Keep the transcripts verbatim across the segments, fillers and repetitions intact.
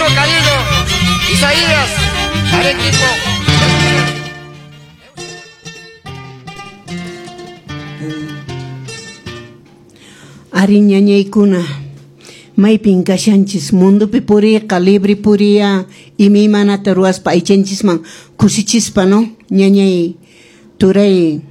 Chino Caído, Isaías, Arequipo. Ari ñañaykuna, maypin kashanchis mundupi puriqa, libre puriya, imaymanata ruwaspa aychanchisman kusichispa, no? Ñañay turay,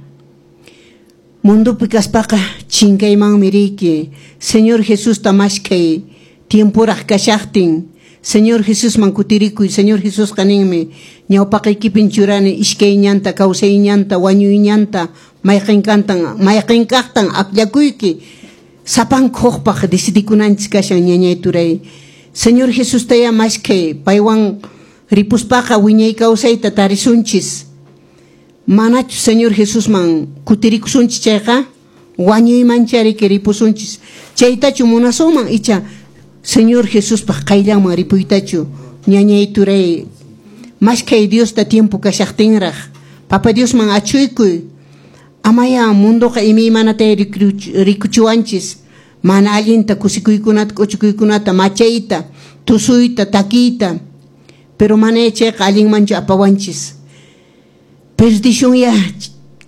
mundupi kaspaqa chinkaymanmi riyki. Señor Jesusta mashkay, tiempuraq kashaqtin, Señor Jesusman kutirikuy. Señor Jesusqa ninmi, ñawpaqaykipin churani iskay ñanta, kawsay ñanta, wañuy ñanta, mayqin kantan, mayqin kaqtan akllakuyki. Sapanka hukpaq decidikunanchis kashan ñañay turay. Señor Jesustaya mashkay, paywan ripuspaqa wiñay kawsayta tarisunchis. Manachu Señor Jesusman kutirikusunchis chayqa, wañuymanchariki ripusunchis. Chaytachu munasunman icha Señor Jesuspaq qayllanman ripuytachu. Ñañay turay, mashkay Diosta tiempo kashaqtinraq. Papa Diosman achuykuy. Amaya mundoqa imaymanata rikuchiwanchis. Mana allinta kusikuykunata, k'uchukuykunata, machayta, tusuyta, takiyta. Pero mana chayqa allinmanchu apawanchis. Perdición ya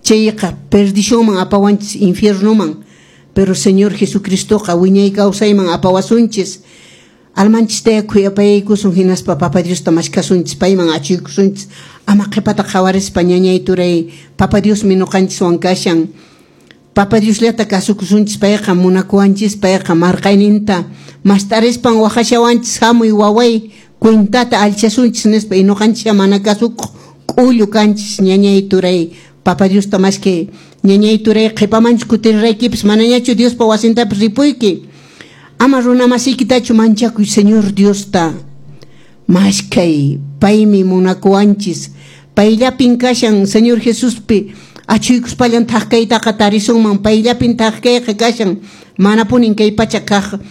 chayqa, perdicionman apawanchis, infiernoman. Pero Señor Jesucristoqa wiñay kawsayman apawasunchis. Almanchistaya khuyapayaykusun hinaspa Papa Diosta mashkasunchis, payman achuykusunchis. Ama qhipata qhawarispa ñañay turay, Papa Diosmi ñuqanchiswan kashan. Papa Diosllata kasukusunchis, payqa munakuwanchis, payqa marqayninta mastarispan waqashawanchis, hamuy waway, cuentata alchasunchis nispa, y ñuqanchis mana kasukuq k'ullu kanchis ñañay turay. Papa Diosta mashkay ñañay turay, qhipamanchu kutiriraykipis, manañachu Diospa wasintapis ripuyki. Ama runa masiykitachu manchakuy, Señor Diosta mashkay, paymi munakuwanchis. Payllapin kashan Señor Jesuspi achuykuspallan thaqkaytaqa tarisunman, payllapin thaqkayqa kashan. Manapunin kay pacha kaq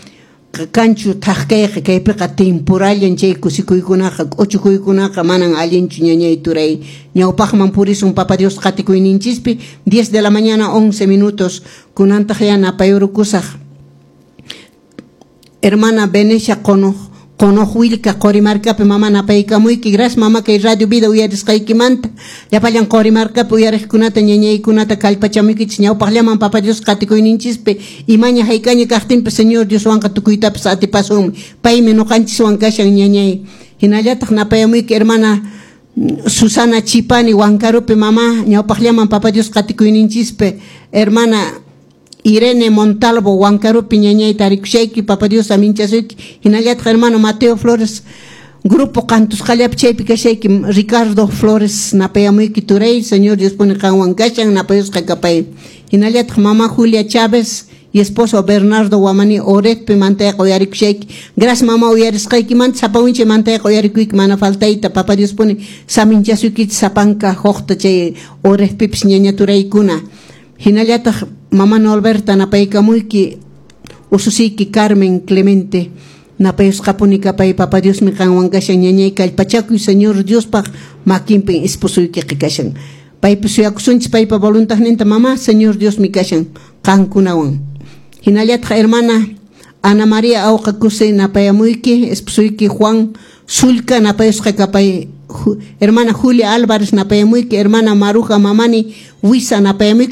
kanchu thaqkayqa, kaypiqa temporallan chay kusikuykunaqa, k'uchukuykunaqa manan allinchu ñañay turay. Ñawpaqman purisun Papa Dios qatikuyninchispi. Diez de la mañana, once minutos. Kunantaq ya napayurukusaq. Hermana Venecia Qonoq Qonoq Willka Qorimarkapi mama napaykamuyki. Gracias mama kay Radio Vida uyarisqaykimanta. Llapallan Qorimarkapi uyariqkunata ñañaykunata kallpachamuykichis ñawpaqllaman Papa Dios qatikuyninchispi. Imaña haykaña kaqtinpas Señor Dioswanqa tukuytapas atipasunmi. Paymi ñuqanchiswan kashan ñañay. Hinallataq napayamuyki hermana Susana Chipani Huancarupi mama ñawpaqllaman Papa Dios qatikuyninchispi. Hermana Irene Montalvo Huancarupi ñañay tarikushayki, Papa Dios aminchasuyki. Hinallataq hermano Mateo Flores, grupo Cantusqallapi chaypi kashayki. Ricardo Flores napayamuyki turay, Señor Dios pone qanwan kashan, napayusqa kapay. Hinallataq mama Julia Chávez y esposo Bernardo Guamani Oretpi mantayqa uyarikushayki. Gracias mama uyarisqaykimanta, sapawinchi mantayqa uyarikuyki mana faltayta. Papa Dios pone saminchasuykichis sapanka huqta chay Oretpipis ñaña turaykuna. Hinallataq mama Norberta napaykamuyki, ususiyki Carmen Clemente napayusqapuni kapay. Papa Diosmi qanwan kashan ñañay, kallpachakuy Señor Diospaq makinpin esposuykiqa kashan. Paypi suyakusunchis paypa voluntadninta mama, Señor Diosmi kashan qankunawan. Hinallataq hermana Ana María Auqakusay napayamuyki, esposuyki Juan Sulca napayusqa kapay. Hermana Julia Álvarez napayamuyki, hermana Maruja Mamani Huiza napayamuyki.